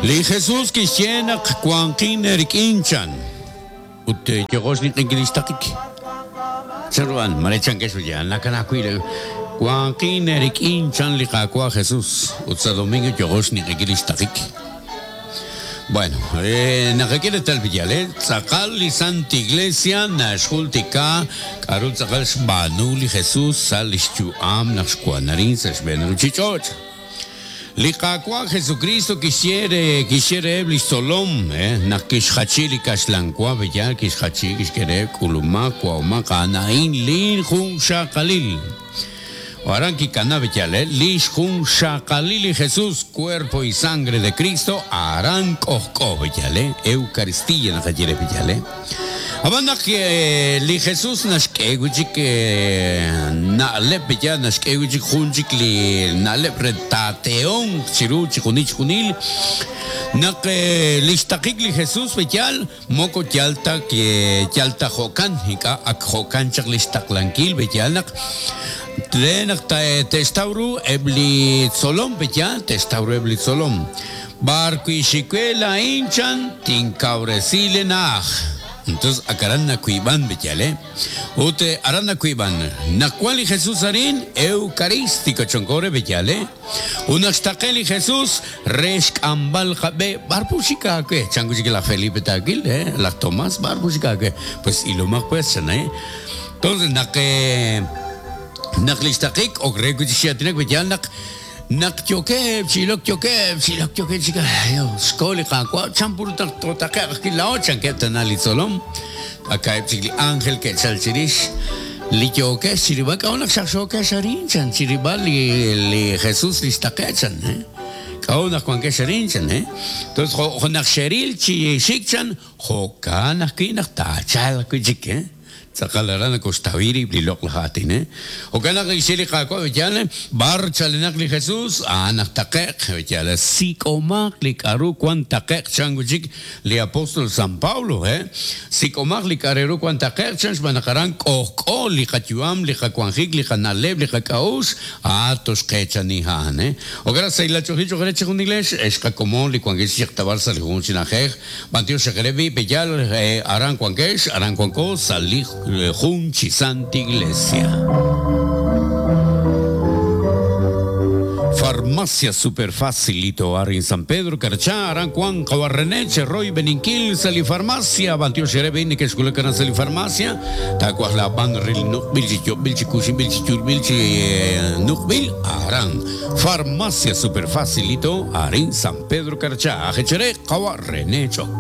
Li Jesus kixye naq wanqin eerik'in chan. Ut yooqo xninq'ehinkil li xtaqik. Chanru a'an? Mare chankex ut yaal nakana wi' li wanqin eerik'in chan li Qaawa' Jesus. Ut sa' domingo yooqo xninq'ehinkil li xtaqik. Bueno, naqak'e reetal b'iyal, tz'aqal li Santa Iglesia naxjultika k'a'ru tz'aqal xb'aanu li Jesus sa' lix yu'am naq xwan arin sa' xb'een ruchich'och'. Li Qaawa' Jesukristo kixye re kixye reheb' lix tzolom, naq kixjachi li kaxlan wa, b'iyal kixjachi, kixk'e reheb', K'ulumaq, wa'omaq, a'an a'in lin junxaqalil. Aran kikana b'iyal, lix junxaqalil li Jesus, cuerpo y sangre de Cristo, aran k'ojk'o b'iyal, Eucaristía naqaye re b'iyal. Ab'an naq li Jesús naxk'e wi' chik na'leb' ya naxk'e wi' chik jun chik li na'leb' re taateehonq chiru chijunil chijunil naq li xtaqik li Jesús b'eyal moko yal ta yal ta jo'kan ink'a' ak jo'kan chaq li xtaqlankil b'eyal naq re naq te'xtaw ru eb' li tzolom b'eyal te'xtaw ru eb' li tzolom B'ar wi' xik we laa'in chan tinkawresi li na'aj. Entonces ak aran nawiib'an b'iyal, eh? Ut aran nawiib'an. Naq wan li Jesús arin, Eucarístico chonko re b'iyal, eh? Ut naq xtaqe li Jesús re xk'amb'al qab'e, b'ar pu xik aawe? Chan wi' chik laj Felipe taawil, eh? Laj Tomás, b'ar pu xik aawe? Pues ilomaq pues, chan, eh? Entonces naq naq li xtaqik ok re wi' chik chi aatinak b'iyal naq Naq yookeb' chi ilok, yookeb' chi ilok, yookeb' chi xko li Qaawa', chan put naq tootaqe'q ajwi' laa'o, chankeb' tana li tzolom. Aka'eb' chik li ánjel ke'chalk chirix. Li yookex chi rilb'al, k'a'ut naq xaqxookex arin, chan, chi rilb'al li Jesus li xtaqe'k, chan, K'a'ut naq wankex arin, chan, Entonces, jo' naq xeril chi xik, chan, jo'kan ajwi' naq taachalq wi' chik, Tz'aqal aran nakoxtawi rib' li loq'laj aatin. Jo'kan naq kixye li Qaawa' b'eyal, B'ar chalenaq li Jesus, a'an aj taqe'q. B'eyal, sik'omaq li k'a'ru wan taqe'q, chan wi' chik li apóstol San Pablo. Sik'omaq li k'a' re ru wan taqe'q, chan, xb'aan naq aran k'ojk'o li qayu'am, li qawanjik, li qana'leb', li qak'a'uxl, a'an toxqeechani a'an. Jo'kan naq sahilal ch'oolejil cho'q re chejunilex, ex qakomon li wankex chi yaqtab'al sa' li junjunq chi na'ajej. B'antiox xaq re b'i' peyal aran wankex, aran wanko sa' li jun chi Santa Iglesia. Farmacia Super Facilito arin San Pedro Carchá, aran wank qawa' René che royb'eninkil sa' li farmacia. B'antiox re b'i' nekexwulak aran sa' li farmacia, taawaj laab'an re li nuq'b'il chi yob'b'il chi kuxinb'il chi yulb'il chi nuq'b'il aran Farmacia Super Facilito arin San Pedro Carchá. Ajechere qawa' René Chok.